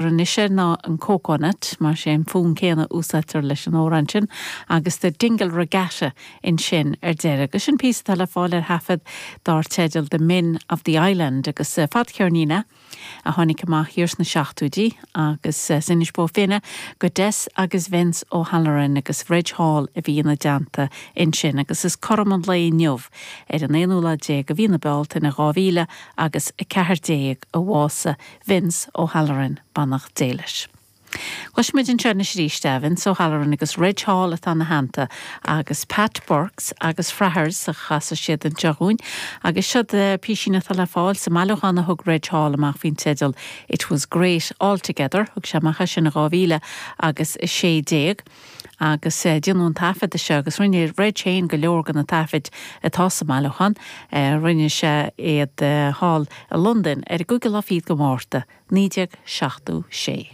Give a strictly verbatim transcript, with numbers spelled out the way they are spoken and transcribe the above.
Anois ná an Coconut mar sé an fonn céanna úsáidtear leis an amhrán sin agus The Dingle Regatta ansin ar deireadh, agus sin píosa le fáil ar thaifead dar teideal The Men of the Island agus eh, fadcheirnín é a tháinig amach thiar sna seachtóidí agus eh, sin Bó Finne go Des agus Vince O'Halloran agus Reg Hall a bhí ina dteannta ansin agus is cothrom an lae inniu ar an aonú lá déag de mhí na Bealtaine dhá mhíle agus a ceathair déag a bhásaigh Vince O'Halloran beannacht Dé leis. Cloisfimid anseo anois arís é Vince O'Halloran agus Reg Hall atá ina theannta agus Pat Burks agus Frathers a chasfaidh siad anseo dhúinn, agus siod píosín atá le fáil sa mbailiúchán a thug Reg Hall amach faoin teideal It was great altogether, thug sé amach sin dhá mhíle agus a sé déag. agus uh, déanadh an taifead seo agus rinne Reg féin go leor de na taifid atá sa mbailiúchán uh, rinne sé iad uh, thall i Londain ar an gcúigiú lá fichead de Mhárta, naoi déag seachtó sé.